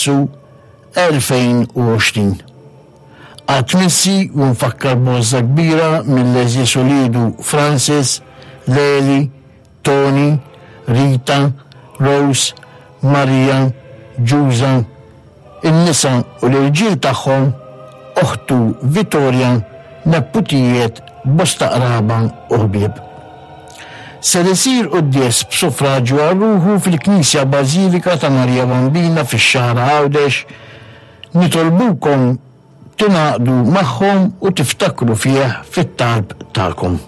Awwissu 2020. Qatt minsi u mfakkar b'għożża kbira mill-għeżież uliedu Francis, Leli, Toni, Rita, Rose, Maria, Ġuża, in-nisa u l-irġiel tagħhom, oħtu Vittoria, nepputijiet, bosta qraba u ħbieb. Ser isir quddies b'suffraġju għal ruħu fil-Knisja Bażilika ta' Marija Bambina fix-Xagħra Għawdex. Nitolbukom tingħaqdu magħhom u tiftakru fih fit-talb tagħkom.